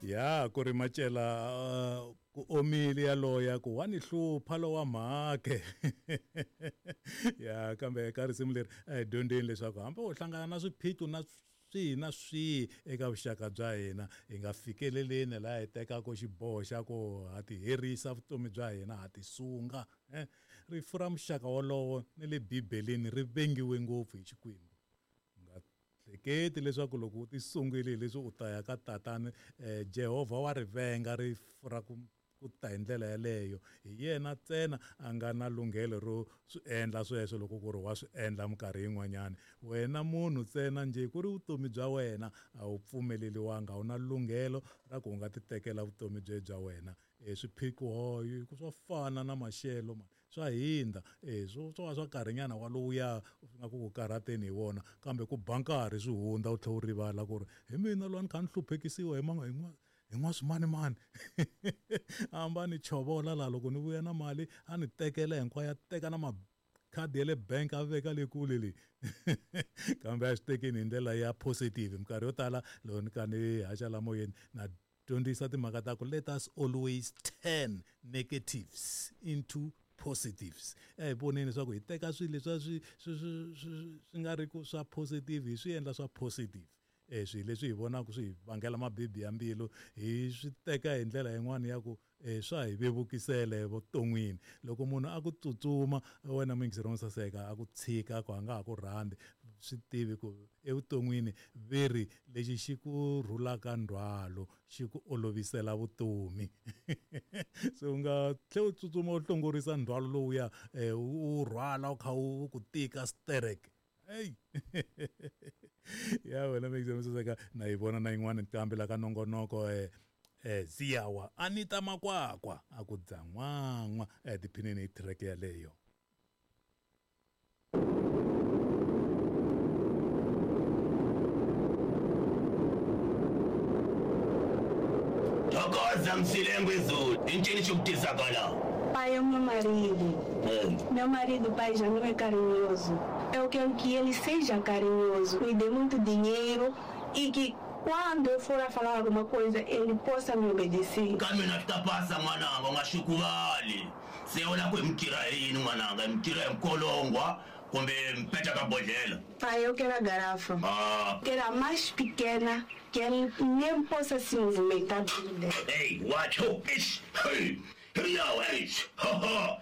Ya ku ri macela ku omile yaloya ku wa ni hlupha lowa mhake. Ya kambe eka risimu leri a hi dyondzeni leswaku hambi u hlangana na swiphiqo na swihi na swihi eka vuxaka bya hina hi nga fikeleleni laha hi tekaka xiboho xa ku ha ti herisa vutomi bya hina ha ti sunga. Rifu ra muxaka wolowo ni le Bibeleni ri vengiwe ngopfu hi Xikwembu. U nga hleketi leswaku loko u tisungile hileswi u ta ya ka Tatana, Jehovha wa ri venga rifu ra ku ku ta hi ndlela yaleyo. Hi yena ntsena a nga na lunghelo ro swi endla sweswo loko ku ri wa swi endla minkarhi yin'wanyana. Wena munhu ntsena njhe ku ri vutomi bya wena a wu pfumeleriwanga, a wu na lunghelo ra ku u nga titekela vutomi bya wena. E swiphiqo hi ku swa fana na maxelo mani swa hindza e swo swo va swa nkarhinyana walowuya swi nga ku ku karhateni hi wona kambe ku ba nkarhi swi hundza u tlhela u rivala ku ri hi mina loyi a ni kha ni hluphekisiwa hi hi hi n'waswimanimani a hamba a ni chovola laha loko ni vuya na mali a ni tekela hinkwayo a teka na makhadi ya le bank a veka le kule le kambe a swi tekeni hi ndlela ya positive minkarhi yo tala loko ni kha ni haxa la moyeni na dyondzisa timhaka ta ku let us always turn negatives into positives. A hi voneni leswaku hi teka swilo leswiya swi swi swi swi swi nga ri ku swa positive hi swi endla swa positive. E swilo leswi hi vonaka swi hi vangela mabibi ya mbilu hi swi teka hi ndlela yin'wana ya ku e swa hi vevukisela evuton'wini. Loko munhu a ku tsutsuma wena muyingiseri wo saseka a ku tshika ku a nga ha ku rhandzi swi tivi ku evuton'wini ve ri lexi xi ku rhulaka ndzhwalo xi ku olovisela vutomi. Se u nga tlhela u tsutsuma u hlongorisa ndzhwalo lowuya u rhwala u kha u ku tika sterek. Hey. Ya wena muyingiseri wo saseka na yi vona na yin'wana nqambi la ka nongonoko Ziyawa Anita Makwakwa a ku dzan'wan'wa tiphinini hi track yaleyo. Thokoza Msilengwe Zulu, i ncini xi ku tisaka la? Pai é o meu marido. Meu marido, pai, já não é carinhoso. Eu quero que ele seja carinhoso, me dê muito dinheiro e que quando eu for a falar alguma coisa, ele possa me obedecer. Ka mina swi ta pasa n'wananga, u nga xukuvali. Se u lava ku hi mi tirha hi yini n'wananga? Hi mi tirha hi nkolongwa kumbe mi peta ka bodlhela? Pai, eu quero a garrafa. Ah. Quero a mais pequena, que ele nem possa se movimentar dentro dela. Hey, watch, ho, ish, hey, here, eish, ha, ha.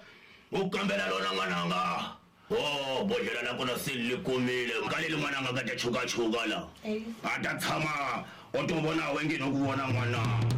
U kambela rona n'wananga. Oh, bodlhela la kona se li kumile. Ka leli n'wananga ka ta chukachuka la. A ta tshama o to vona wena nge no ku vona n'wana.